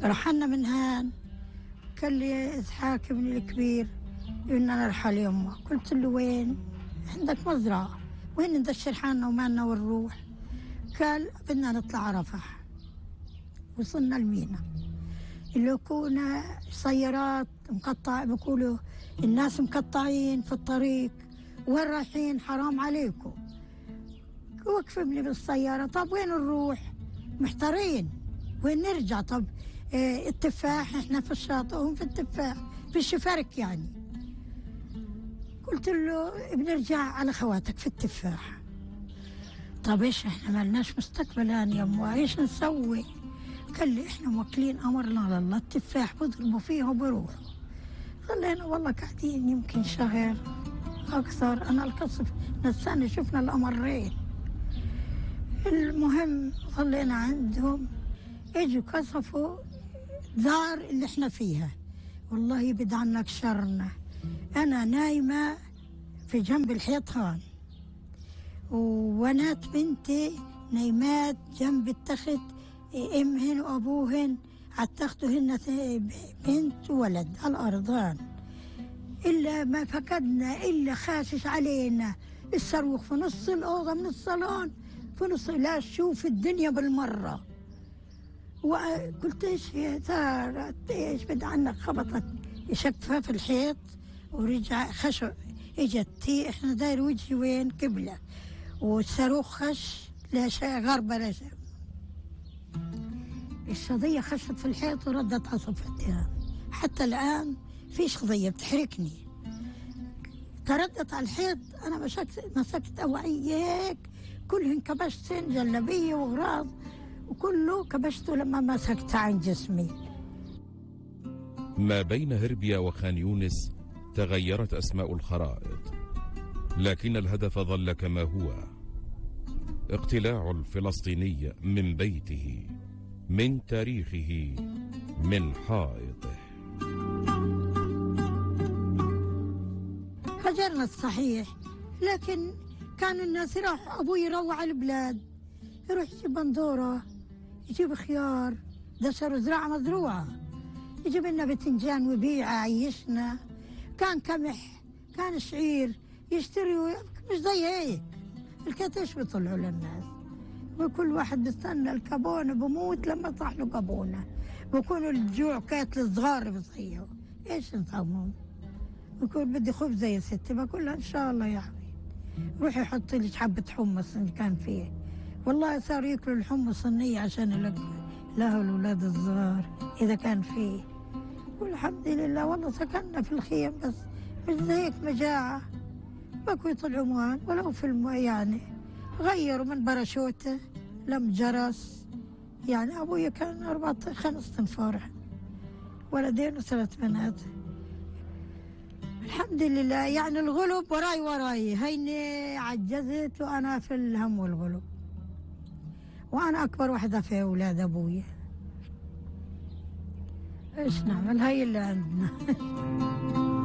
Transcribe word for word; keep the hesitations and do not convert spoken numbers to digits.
رحلنا من هان. قال لي إسحاق ابني الكبير بدنا نرحل يمه. قلت له وين؟ عندك مزرعة، وين ندشر حالنا ومالنا ونروح؟ قال بدنا نطلع على رفح. وصلنا المينا اللي كنا سيارات مقطع، بقولوا الناس مقطعين في الطريق، وين رايحين؟ حرام عليكم. وقفني بالسيارة. طب وين نروح؟ محتارين وين نرجع. طب اه التفاح، احنا في الشاطئ وهم في التفاح، في الشفرك يعني. قلت له بنرجع على خواتك في التفاح. طب ايش احنا مالناش مستقبل هان يمه، ايش نسوي؟ قال لي احنا موكلين امرنا على الله، التفاح بضربوا فيه وبروحوا. ظلينا والله قاعدين يمكن شهر اكثر، انا القصف نساني شفنا الامرين. المهم ظلينا عندهم، اجوا كشفوا دار اللي احنا فيها. والله يبعد عنك شرنا. انا نايمه في جنب الحيطان، وبنات بنتي نايمات جنب التخت، امهن وابوهن على التخت، وهن بنت وولد على الارضان. الا ما فقدنا الا خاشش علينا الصاروخ في نص الاوضه من الصالون، في نص، لا شوف الدنيا بالمره. وقلت ايش يا ترى ايش بد عنك؟ خبطت شقفه في الحيط ورجع خشوا. اجت احنا داير وجهي وين؟ قبله. والصاروخ خش لا شيء غربه لا شيء. الشظيه خشت في الحيط وردت على صفتها. حتى الان فيش قضيه بتحركني. تردت على الحيط، انا مسكت مسكت اوعيه هيك كلهن كبشتن، جلبيه وغراض وكله كبشته لما مسكت عن جسمي. ما بين هربيا وخان يونس تغيرت أسماء الخرائط، لكن الهدف ظل كما هو: اقتلاع الفلسطيني من بيته، من تاريخه، من حائطه. هجرنا الصحيح، لكن كان الناس يروح، أبوي يروع البلاد، يروح يجيب بندورة، يجيب خيار، دشر زراعة مزروعة، يجيب لنا بتنجان وبيع عيشنا. كان قمح، كان شعير يشتري، مش زي هيك الكتش بيطلعوا للناس. وكل واحد بيستنى الكابونة بموت لما يطلع له كابونة. بكونوا الجوع كاتل صغار بصيحوا، ايش نطعمهم؟ بقول بدي خبزة يا ستي، بقول لها ان شاء الله يا حبيبي روحي حطي لي حبة حمص اللي كان فيه. والله صاروا ياكلوا الحمص صينية عشان له الأولاد الصغار إذا كان فيه. والحمد لله والله سكننا في الخيم، بس مش زيك مجاعة. بكوا يطلعوا موان ولو في الم يعني. غيروا من باراشوته لم جرس. يعني أبويا كان أربعة خمس تنفار، ولدين وثلاث بنات. الحمد لله يعني الغلب وراي وراي، هيني عجزت وأنا في الهم والغلب، وأنا أكبر واحدة في أولاد أبويا. إيش نعمل؟ هاي اللي عندنا.